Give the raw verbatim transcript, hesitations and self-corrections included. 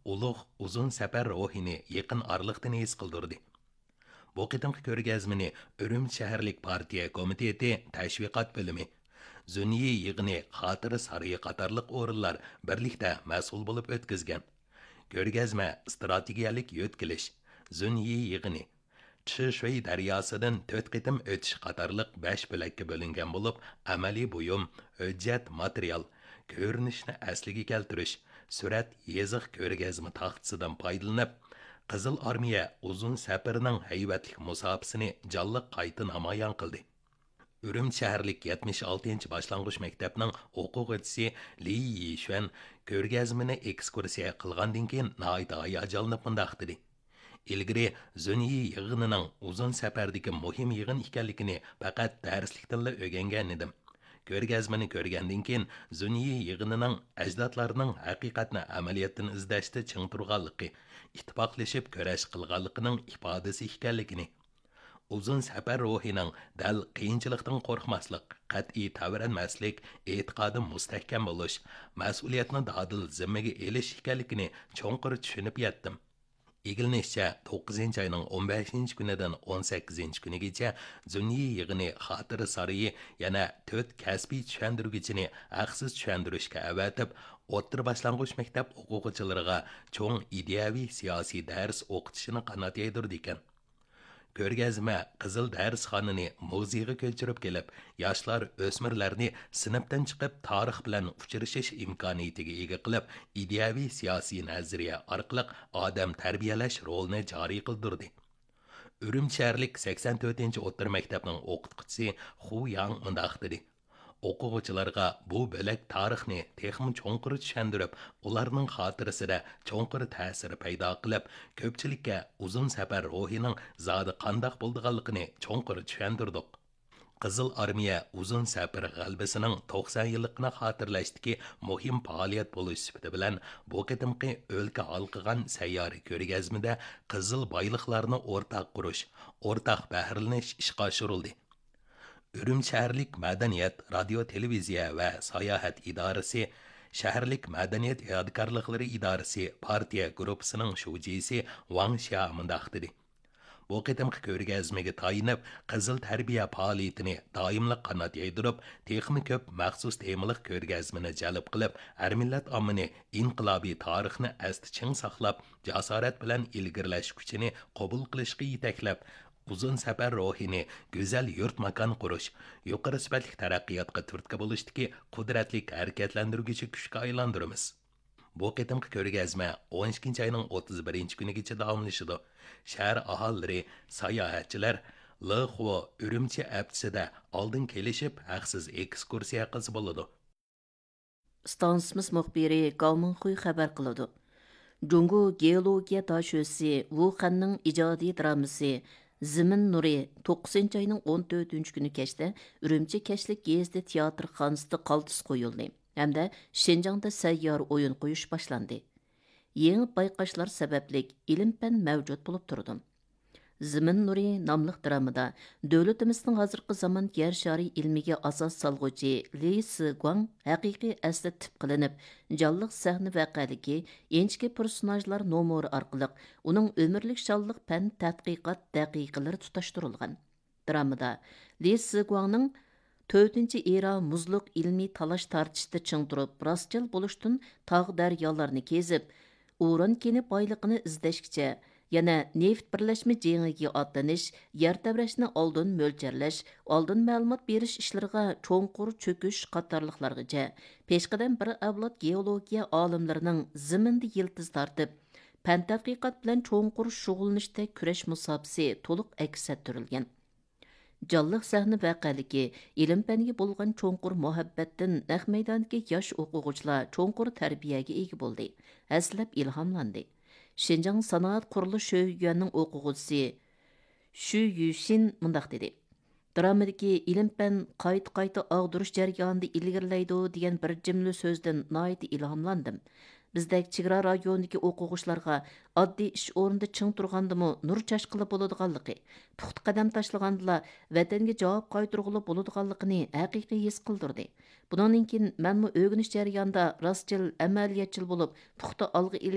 ئۇلۇغ ئۇزۇن سەپەر روھىنى يېقىن ئارىلىقتىن ھېس قىلدۇردى. بۇ قېتىمقى كۆرگەزمىنى ئۈرۈمچى شەھەرلىك پارتىيە كومىتېتى تەشۋىقات بۆلۈمى، زۈنيى يىغىنى خاتىرە سارىيى قاتارلىق ئورۇنلار بىرلىكتە مەسئۇل بولۇپ ئۆتكۈزگەن. كۆرگەزمە ئىستراتېگىيەلىك يۆتكىلىش، زۈنيى يىغىنى، چىشۈي دەرياسىدىن تۆت قېتىم ئۆتۈش قاتارلىق بەش بۆلەككە بۆلۈنگەن بولۇپ، ئەمەلىي بۇيۇم، ھۆججەت، ماتېرىيال، كۆرۈنۈشنى ئەسلىگە كەلتۈرۈش، سۈرەت، يېزىق، كۆرگەزمە تاختىسىدىن پايدىلىنىپ، قىزىل ئارمىيە ئۇزۇن سەپىرىنىڭ ھەيۋەتلىك مۇساپىسىنى جانلىق قايتا نامايان قىلدى. ئۈرۈمچى شەھەرلىك يەتمىش ئالتىنچى باشلانغۇچ مەكتەپنىڭ ئوقۇغۇچىسى لى يىشۈەن كۆرگەزمىنى ئېكسكۇرسىيە قىلغاندىن كېيىن ناھايىتى ھاياجانلىنىپ مۇنداق دېدى: ئىلگىرى زۈنيى يىغىنىنىڭ ئۇزۇن سەپەردىكى مۇھىم يىغىن ئىكەنلىكىنى پەقەت دەرسلىكتىنلا ئۆگەنگەنىدىم. كۆرگەزمىنى كۆرگەندىن كېيىن زۈنيى يىغىنىنىڭ ئەجدادلارنىڭ ھەقىقەتنى ئەمەلىيەتتىن ئىزدەشتە چىڭ تۇرغانلىقى، ئىتتىپاقلىشىپ كۈرەش قىلغانلىقىنىڭ ئىپادىسى ئىكەنلىكىنى، ئۇزۇن سەپەر روھىنىڭ دەل قىيىنچىلىقتىن قورقماسلىق، قەتئىي تەۋرەنمەسلىك، ئېتىقادى مۇستەھكەم بولۇش، مەسئۇلىيەتنى دادىل زىممىگە ئېلىش ئىكەنلىكىنى چوڭقۇر چۈشىنىپ يەتتىم. ئىگىلىنىشىچە، توققۇزىنچى ئاينىڭ ئون بەشىنچى كۈنىدىن ئون سەككىزىنچى كۈنىگىچە زۈنيى يىغىنى خاتىرە سارىيى يەنە تۆت كەسپىي چۈشەندۈرگۈچىنى ھەقسىز چۈشەندۈرۈشكە ئەۋەتىپ، ئوتتۇرا باشلانغۇچ مەكتەپ ئوقۇغۇچىلىرىغا چوڭ ئىدىيەۋى سىياسىي دەرس ئوقۇتۇشىنى قانات يايدۇرىدىكەن. كۆرگەزمە قىزىل دەرسخانىنى مۇزېيغا كۆچۈرۈپ كېلىپ، ياشلار، ئۆسمۈرلەرنى سىنىپتىن چىقىپ تارىخ بىلەن ئۇچرىشىش ئىمكانىيىتىگە ئىگە قىلىپ، ئىدىيەۋى سىياسىي نەزەرىيە ئارقىلىق ئادەم تەربىيەلەش رولىنى جارى قىلدۇردى. ئۈرۈمچى شەھەرلىك سەكسەن تۆتىنچى ئوتتۇرا مەكتەپنىڭ ئوقۇتقۇچىسى خۇ ياڭ مۇنداق دېدى: ئوقۇغۇچىلارغا بۇ بۆلەك تارىخنى تېخىمۇ چوڭقۇر چۈشەندۈرۈپ، ئۇلارنىڭ خاتىرىسىدە چوڭقۇر تەسىر پەيدا قىلىپ، كۆپچىلىككە ئۇزۇن سەپەر روھىنىڭ زادى قانداق بولىدىغانلىقىنى چوڭقۇر چۈشەندۈردۇق. قىزىل ئارمىيە ئۇزۇن سەپەر غەلىبىسىنىڭ توقسان يىللىقىنى خاتىرىلەشتىكى مۇھىم پائالىيەت بولۇش سۈپىتى بىلەن، بۇ قېتىمقى ئۆلكە ھالقىغان سەييارە كۆرگەزمىدە قىزىل بايلىقلارنى ئورتاق قۇرۇش، ئورتاق بەھرىلىنىش ئىشقا ئاشۇرۇلدى. ئۈرۈمچى شەھەرلىك مەدەنىيەت، رادىيو، تېلېۋىزىيە ۋە ساياھەت ئىدارىسى، شەھەرلىك مەدەنىيەت يادىكارلىقلىرى ئىدارىسى پارتىيە گۇرۇپپىسىنىڭ شۇجىسى ۋاڭ شيا مۇنداق دېدى: بۇ قېتىمقى كۆرگەزمىگە تايىنىپ، قىزىل تەربىيە پائالىيىتىنى دائىملىق قانات يايدۇرۇپ، تېخىمۇ كۆپ مەخسۇس تېمىلىق كۆرگەزمىنى جەلپ قىلىپ، ھەر مىللەت ئاممىنى ئىنقىلابىي تارىخنى ئەستە چىڭ ساقلاپ، جاسارەت بىلەن ئىلگىرىلەش كۈچىنى قوبۇل قىلىشقا يېتەكلەپ، ئۇزۇن سەپەر روھىنى گۈزەل يۇرت ماكان قۇرۇش، يۇقىرى سۈپەتلىك تەرەققىياتقا تۈرتكە بولۇشتىكى قۇدرەتلىك ھەرىكەتلەندۈرگۈچى كۈچكە ئايلاندۇرىمىز. بۇ قېتىمقى كۆرگەزمە ئون ئىككىنچى ئاينىڭ ئوتتۇز بىرىنچى كۈنىگىچە داۋاملىشىدۇ. شەھەر ئاھالىلىرى، ساياھەتچىلەر لېخۇ ئۈرۈمچى ھەپتىسىدە ئالدىن كېلىشىپ، ھەقسىز ئېكسكۇرسىيە قىلسا بولىدۇ. ئىستانسىمىز مۇخبىرى گاۋ مىڭخۇي خەۋەر قىلىدۇ. جۇڭگو گېئولوگىيە داشۆسى ۋۇ خەننىڭ ئىجادىي درامىسى زېمىن نۇرى توققۇزىنچى ئاينىڭ ئون تۆتىنچى كۈنى كەچتە ئۈرۈمچى كەچلىك گېزىتى تىياتىرخانىسىدا قالتىس قويۇلدى ھەمدە شىنجاڭدا سەييارە ئويۇن قويۇش باشلاندى. يېڭى بايقاشلار سەۋەبلىك ئىلىم-پەن مەۋجۇت بولۇپ تۇرىدۇ. زېمىن نۇرى ناملىق درامىدا دۆلىتىمىزنىڭ ھازىرقى زامان يەر شارى ئىلمىگە ئاساس سالغۇچى لى سىگۇاڭ ھەقىقىي ئەسلى تىپقا ئېلىنىپ، جانلىق سەھنە ۋەقەلىكى، ئىنچىكە پېرسوناژلار نومۇرى ئارقىلىق ئۇنىڭ ئۆمۈرلۈك شانلىق پەن تەتقىقات دەقىقىلىرى تۇتاشتۇرۇلغان. درامىدا لى سىگۇاڭنىڭ تۆتىنچى ئېرا مۇزلۇق ئىلمىي تالاش-تارتىشتا چىڭ تۇرۇپ، راستچىل بولۇشتىن تاغ-دەريالارنى كېزىپ، ئۇران كېنى بايلىقىنى ئىزدەشكىچە، يەنە نېفىت بىرلەشمە جېڭىگە ئاتلىنىش، يەر تەۋرەشنى ئالدىن مۆلچەرلەش، ئالدىن مەلۇمات بېرىش ئىشلىرىغا چوڭقۇر چۆكۈش قاتارلىقلارغىچە، پېشقەدەم بىر ئەۋلاد گېئولوگىيە ئالىملىرىنىڭ زېمىندا يىلتىز تارتىپ، پەن تەتقىقات بىلەن چوڭقۇر شۇغۇللىنىشتەك كۈرەش مۇساپىسى تولۇق ئەكس ئەتتۈرۈلگەن. جانلىق سەھنە ۋەقەلىكى، ئىلىم-پەنگە بولغان چوڭقۇر مۇھەببەتتىن نەق مەيداندىكى ياش ئوقۇغۇچىلار چوڭقۇر تەربىيەگە ئىگە بولدى، ھەسسىلەپ ئىلھاملاندى. شىنجاڭ سانائەت قۇرۇلۇش شۆيۈەنىڭ ئوقۇغۇچىسى شۈ يۈشىن مۇنداق دېدى: درامىدىكى ئىلىم-پەن قايتا-قايتا ئاغدۇرۇش جەريانىدا ئىلگىرىلەيدۇ دېگەن بىر جۈملە سۆزدىن ناھايىتى ئىلھاملاندىم. بىزدەك چېگرا رايونىدىكى ئوقۇغۇچىلارغا ئاددىي ئىش ئورنىدا چىڭ تۇرغاندىمۇ نۇر چاچقىلى بولىدىغانلىقى، پۇختا قەدەم تاشلىغاندىلا ۋەتەنگە جاۋاب قايتۇرغىلى بولىدىغانلىقىنى ھەقىقىي ھېس قىلدۇردى. بۇنىڭدىن كېيىن مەنمۇ ئۆگىنىش جەريانىدا راستچىل، ئەمەلىيەتچىل بولۇپ، پۇختا ئالغا ئىلگىرىلەيدىغان